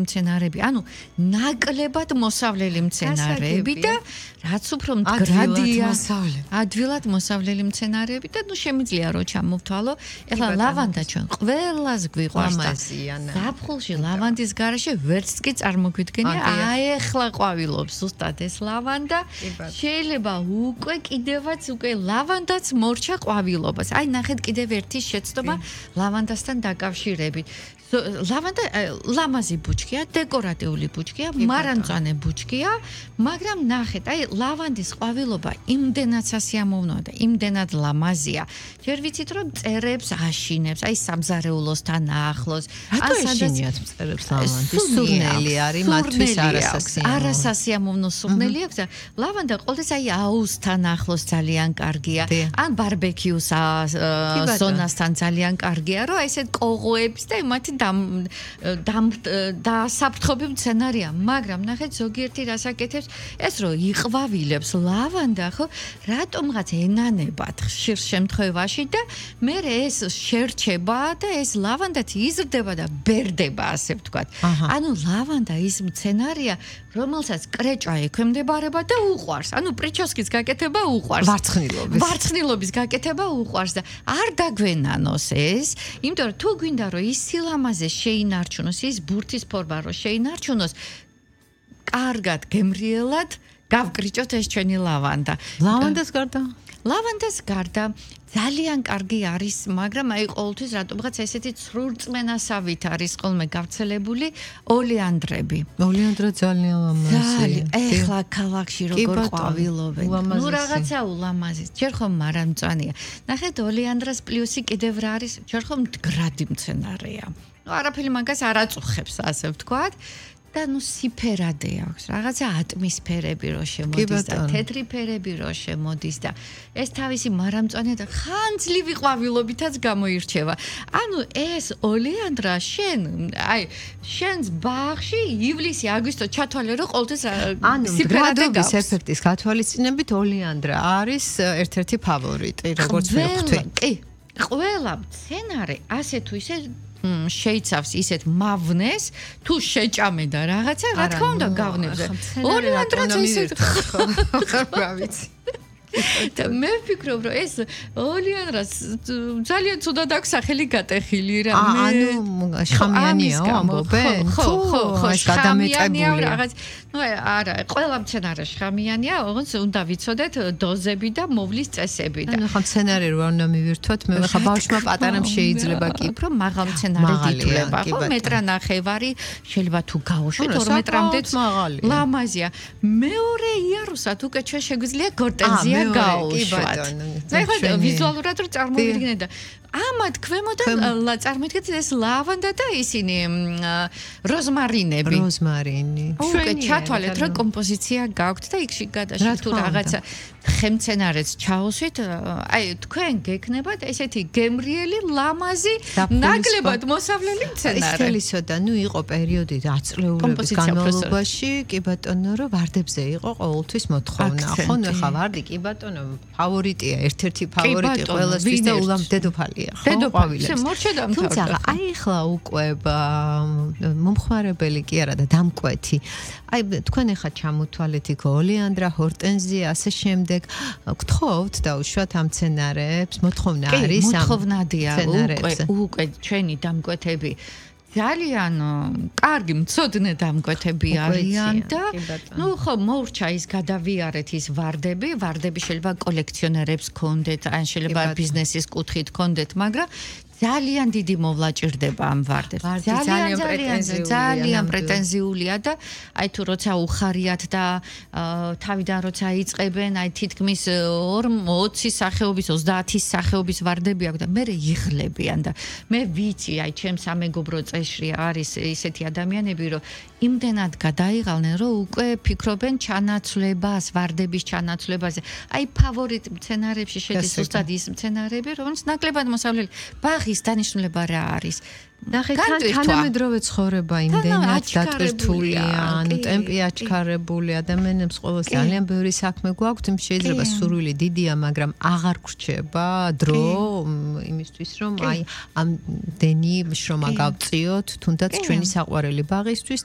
მცენარეები, ანუ ნაკლებად მოსავლელი მცენარეები და რაც უფრო მდგრადია, ადვილად მოსავლელი მცენარეები და შემიძლია რომ ჩამოვთვალო. ეხლა ლავანდა ჩვენ ყველას გვიყვარს და ზაფხულში ლავანდის გარეშე ვერც კი წარმოგვიდგენია, აი ეხლა ყვავილობს ზუსტად ეს ლავანდა. შეიძლება უკვე კიდევაც ლავანდაც მორჩა ყვავილობას. აი ნახეთ კიდევ ერთი შეცდომა ლავანდასთან დაკავშირებით. ლავანდა ლამაზი ბუჩქია, დეკორატიული ბუჩქია, მარანწვანე ბუჩქია, მაგრამ ნახეთ, აი ლავანდის ყვავილობა იმდენად სასიამოვნოა და იმდენად ლამაზია. ჯერ ვიცით რომ მწერებს აშინებს, აი სამზარეულოსთან ახლოს. რატო აშინიათ მწერებს ლავანდის? სურნელი არის მათთვის არასასიამოვნო სურნელი აქვს და ლავანდა ყოველთვის აი აუზთან ახლოს ძალიან კარგია. ან ბარბეკიუს ზონასთან ძალიან კარგია, რომ ესეთ კოღოებს და მათი დასაფრთხობი მცენარეა, მაგრამ ნახეთ ზოგიერთი რასაკეთებს ეს რომ იყვავილებს ლავანდა, ხო, რატომღაც ენანებად ხშირ შემთხვევაში და მე ეს შერჩება და ეს ლავანდაც იზრდება და ბერდება, ასე ვთქვათ. ანუ ლავანდა ის მცენარეა, რომელსაც კრეჭა ექვემდებარება და უყვარს. ანუ პრიჩოსკის გაკეთება უყვარს. ვარცხნილობის გაკეთება უყვარს და არ დაგვენანოს ეს, იმიტომ რომ თუ გვინდა რომ ის სილამაზე შეინარჩუნოს, ის ბურთის ფორმა რომ შეინარჩუნოს, კარგად გემრიელად გავკრიჭოთ ეს ჩვენი ლავანდა. ლავანდას გარდა ძალიან კარგი არის, მაგრამ აი ყოველთვის რატომღაც ესეთი ცრურწმენასავით არის ხოლმე გავრცელებული ოლეანდრები. ოლეანდრა ძალიან ლამაზია. ეხლა ქალაქში როგორ ყვავილობენ. ნუ რაღაცა ულამაზი. ჯერ ხომ მარანწვანია. ნახეთ ოლეანდრას პლუსი კიდევ რა არის? ჯერ ხომ მდგრადი მცენარეა. ნუ არაფერი მაგას არ აწუხებს, ასე ვთქვათ. და სიფერადე აქვს, რაღაცა ატმისფერები რო შემოდის და თეთრი ფერები რო შემოდის და ეს თავისი მარამწვანე და ხანძლივი ყვავილობითაც გამოირჩევა. ანუ ეს ოლეანდრა შენს ბაღში ივლისი, აგვისტო ჩათვალე რომ ყოველთვის სიფერადე გავს. ეფექტის გათვალისწინებით ოლეანდრა არის ერთ-ერთი ფავორიტი, როგორც ვხვდით. კი, ყველა მცენარე ასე თუ ისე შეიცავს ისეთ მავნეს, თუ შეჭამე და რაღაცა, რა თქმა უნდა გავნებზე. ოლეანდრაც ისეთ რა ვიცი. და მე ვფიქრობ, რომ ეს ოლეანდრას ძალიან ცუდად აქვს სახელი გატეხილი რა. ანუ შხამიანია ამბობენ? ხო, გადამეტებული რაღაც. ნუ არა, ყველა მცენარე შხამიანია, ოღონდ უნდა ვიცოდეთ დოზები და მოვლის წესები და. ანუ ხა მცენარე რო არ უნდა მივირთვათ, მე ხა ბავშვმა პატარამ შეიძლება კი, რომ მაღალ მცენარე დითვლება, ხო, მეტრ-ნახევარი შეიძლება თუ გაუშვით 2 მეტრამდეც ლამაზია. მეორე იარუსად უკვე ჩვენ შეგვიძლია გორტენზია გაუშვათ. მე ხო ვიზუალურად რო წარმოვიდგინე და ამათ ქვემოდან წარმოიდგინეთ ეს ლავანდა და ისინი როზმარინები. უკვე ჩათვალეთ რომ კომპოზიცია გაქვთ და იქში გადაშით თუ რაღაცა ხემცენარეს ჩაუსვით, აი თქვენ გექნებათ ესეთი გემრიელი, ლამაზი, ნაკლებად მოსავლელი მცენარე. ისთელისო და ნუ იყო პერიოდი აწლეულების განმავლობაში, კი ბატონო, რომ ვარდებზე იყო ყოველთვის მოთხოვნა. ხო, ნუ ხა ვარდი კი ბატონო, ფავორიტია, ერთ-ერთი ფავორიტი ყველასთვის და ულამ დედოფალია, ხო? თუმცა აი ხლა უკვე მომხმარებელი კი არა და დამკვეთი. აი თქვენ ახლა ჩამოთვალეთ იქ ოლეანდრა, ჰორტენზია, ასე შემდეგ. გთხოვთ დაუშვათ ამ მცენარეებს, მოთხოვნა არის ამ მოთხოვნადია უკვე ჩვენი დამკვეთები ძალიან კარგი მცოდნე დამკვეთები არიან და ნუ ხო მოურჩა ის გადავიარეთ ის ვარდები შეიძლება კოლექციონერებს ქონდეთ, ან შეიძლება ბიზნესის კუთხით ქონდეთ, მაგრამ ძალიან დიდი მოვლა ჭირდება ამ ვარდებს. ძალიან პრეტენზიულია და აი თუ როცა უხარიათ და თავიდან როცა იწყებენ, აი თითქმის 20 სახეობის, 30 სახეობის ვარდები აქვს და მე იღლებიან და მე ვიცი, აი ჩემს სამეგობრო წეში არის ისეთი ადამიანები, რომ იმდენად გადაიღალნენ, რომ უკვე ფიქრობენ ჩანაცვლებას, ვარდების ჩანაცვლებაზე. აი ფავორიტ მცენარეებში შედის ზუსტად ის მცენარეები, რომელიც ნაკლებად მოსავლელი. ბაღის დანიშნულება რა არის? ნახე, თანამედროვე ცხოვრება იმდენად დატვირთულია, ანუ ტემპი აჩქარებული, ადამიანებს ყოველს ძალიან ბევრი საქმე გვაქვს, შეიძლება სურვილი დიდია, მაგრამ აღარ გრჩება დრო იმისთვის, რომ აი ამ დენი შრომა გავწიოთ, თუნდაც ჩვენი საყვარელი ბაღისთვის